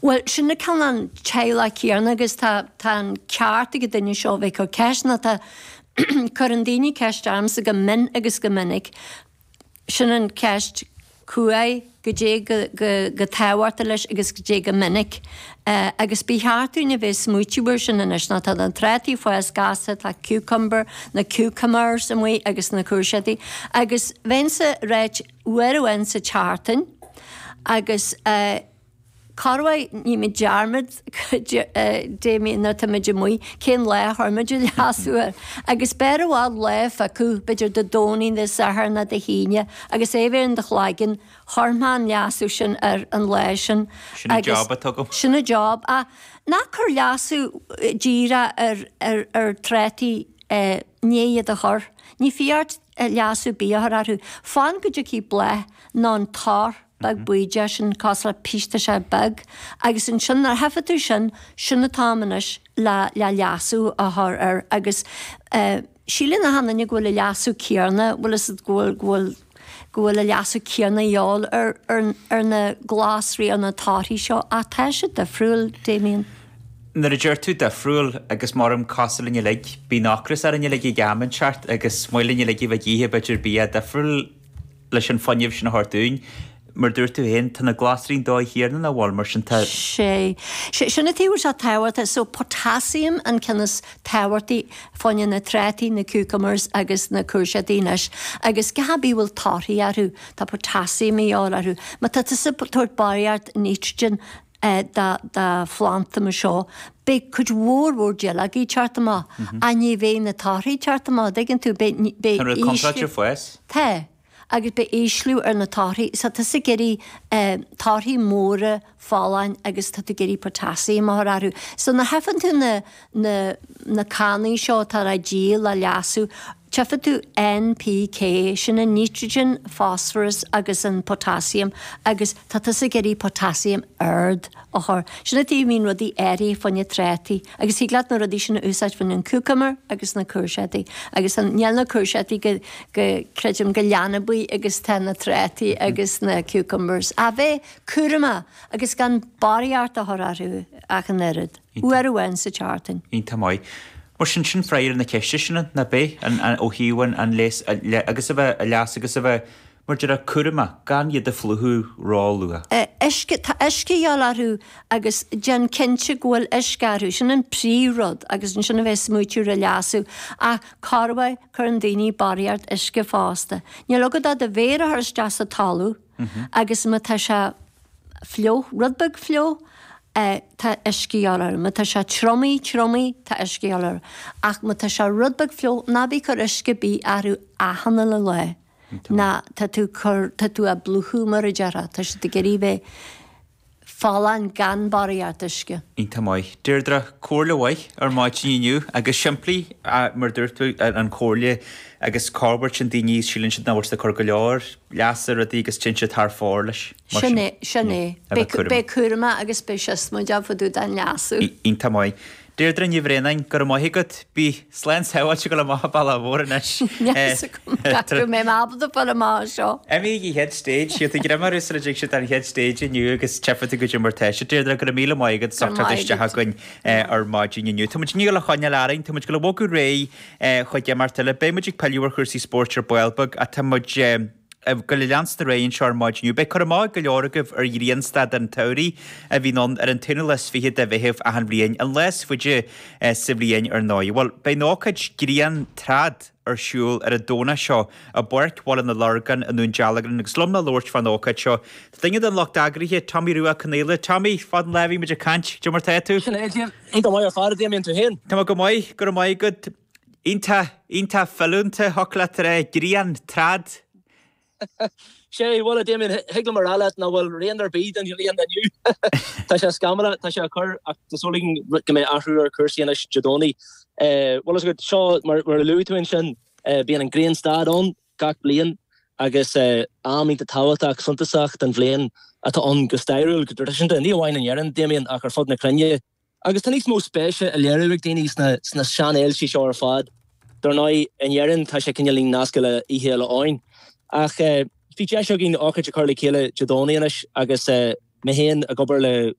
Bhuel, sin an cineál an teaghlach céanna agus tá tá an ceart ag an duine seo a bheith ag cur ceist nó tá cuireann daoine ceist ormsa go mion agus go minic. Sin an ceist cumhaidh, goidé go go go tábhachtach leis agus goidé go minic. Agus ba cheart dúinn a bheith smaoitiú air sin anois nó tá na trátaí fás gasta, tá cucumber, na cucumbers amuigh agus na cúirséadaí agus bheinnse ag ráit uair amháin sa tseachtain agus corruair nímid dearmad Damien nuair atá muid amuigh cén lá a chuir muid an leasú air agus b'fhearr i bhfad lá a phiocadh, b'fhéidir Dé Domhnaigh, Dé Sathairn nó Dé hAoine agus é a bheith in do chloigeann, chuir mé an leasú sin ar an lá sin. Sin an job atá agam. Sin an job. Ach ná cuir leasú díreach ar ar ar trátaí i ndiaidh iad a chur. Ní fiú ort leasú ar bith a chur orthu. Fan go dtiocfaidh bláth nó an tor beag buídeach sin cosúil le piostáiste beag agus ansin nuair a tchífidh tú sin, sin an t-am anois le le leasú a chur air agus eh síleann achan duine go bhfuil an leasú céanna, bhfuil fhios agat go bhfuil go bhfuil go bhfuil an leasú céanna a dhíobháil ar ar ar na glasraí ar na torthaí seo ach tá siad difriúil, Damien. Nuair a deir tú difriúil agus mar am cosúil linn uilig, bíonn ocras orainn uilig ag am inteacht agus is maith linn uilig a bheith ag ithe b'fhéidir bia difriúil leis an fuinneamh sin a thabhairt dúinn. Mar dúirt tú féin, tá na glasraí an dóigh chéanna nach bhfuil, mar sin tá. Sé. Sé, sin an taobh atá tábhachtach. So potassium an ceann is tábhachtaí fá choinne na trátaí, na cucumbers agus na cúirséadaí anois. Agus gach ar bith a bhfuil torthaí orthu, tá potassium a dhíobháil orthu. Má tá tusa ag tabhairt barraíocht nitrogen do do phlanda mar seo, beidh cuid mhór mhór duilleogaí ag teacht amach ach ní bheidh na torthaí ag teacht amach, an dtuigeann tú, beidh, beidh Tá an rud contráilte ag fás. Tá. Agus beidh ísliú ar na torthaí. So tá tusa ag iarraidh torthaí móra folláin agus tá tú ag iarraidh potassium a chur orthu. So nuair a tchífeann tú na, na, na cannaí seo atá á díol le leasú, tchífidh tú NPK, sin an nitrogen, phosphorus agus an potassium agus tá tusa ag iarraidh potassium ard a chur. Sin an tuige a mbíonn rudaí áirithe fá choinne trátaí agus thig leat na rudaí sin a úsáid fá choinne an cucumber agus na cúirséadaí agus an, níl na cúirséadaí go, go, creidim go leanbaí agus tá na trátaí agus na cucumbers. A bheith cúramach agus gan barraíocht a chur orthu ach an oiread, uair amháin sa tseachtain. Iontach maith. Mar sin, sin freagra ar na ceiste sin, nach b'é, an, an, ó thaobh an, an léas, agus a bheith, a leas agus a bheith Mar déarfá, cúramach, gan iad a phlúchadh ró-luath. Uisce, tá uisce a dhíobháil orthu agus déan cinnte go bhfuil uisce orthu, sin an príomhrud agus ansin a bheith ag smaoitiú ar an leasú. Ach corruair cuireann daoine barraíocht uisce fosta. Níl agat ach do mhéar a chur isteach sa talamh agus má tá sé fliuch, rud beag fliuch, tá uisce a dhíobháil orthu. Má tá sé triomaithe, triomaithe, tá uisce a dhíobháil orthu. Ach má tá sé rud beag fliuch, ná bí ag cur uisce ar bith orthu achan uile lá. Ná tá tú cur, tá tú á bplúchadh mar a déarfá, tá siad ag iarraidh bheith folláin gan barraíocht uisce. Iontach maith. Deirdre, comhairle mhaith ar maidin inniu agus simplí mar dúirt tú an chomhairle agus corruair téann daoine síleann siad nach bhfuil siad ag cur go leor leasa ar rudaí agus téann siad thar fóir leis. Sin é, sin é. Beidh cúramach agus beidh siosmaideach fá dtaobh den leasú. Iontach maith. Deirdre Ní Bhraonáin, go raibh maith agat. Bí slán sábháilte ag dul amach an bealach mhór anois. Níl fhios agam go mbeidh mé ábalta fáil amach as seo. Imigh ag an chéad stage, gheobhaidh tú greim orthu sula dtig siad an chéad stage inniu agus tchífidh tú goidé mar tá siad. Deirdre, go raibh míle maith agat as ucht teacht isteach againn ar maidin inniu. Tá muid ag dul a choinneáil orainn, tá muid ag dul a bhogadh ar aghaidh chuig imeacht eile. Beidh muid ag pilleadh ar chúrsaí spóirt ar ball beag ach tá muid ag dul a leanstan ar aghaidh anseo ar maidin inniu. Beidh cur amach ag go leor agaibh ar Ghrianstad an tSamhraidh a bhíonn ann ar an t-aonú lá is fiche de Mheitheamh achan bhliain, an lá is faide sa bhliain ar ndóigh. Bhuel, beidh an ócáid Griantrad ar siúl ar an Domhnach seo i bPáirc Bhaile na Lorgan i nDún Dealgan agus liom le labhairt fán ócáid seo tá duine den lucht eagraithe, Tommy Rua Ó Conaola. Tommy, fad an lá a bhí muid ag caint, cad é mar tá tú? Sin é, Iontach maith ar fad, a Damien, tú féin? Tá mé go maith, go raibh maith agat. Iontach, iontach filiúnta, thiocfadh leat a rá, Griantrad. Sé, bhuel, a Damien, thig liom a rá leat nach bhfuil rian ar bith den ghrian inniu. Tá sé scamallach, tá sé ag cur, ach tá súil againn go mbeidh athrú ar chúrsaí anois Dé Domhnaigh. Bhuel, is agat, seo, mar a luaigh tú ansin, bíonn an Grianstad ann gach bliain agus am iontach tábhachtach, suntasach den bhliain atá ann go stairiúil, go traidisiúnta, ní amháin in Éirinn, Damien, ach ar fud na cruinne. Agus tá níos mó spéise á léiriú ag daoine sna seanfhéiltí seo ar fad. Dar ndóigh, in Éirinn tá sé cineáilín nasctha le Oíche Fhéile Eoin. Ach bhí deis againn ócáid a chur le chéile Dé Domhnaigh anois agus mé féin ag obair le.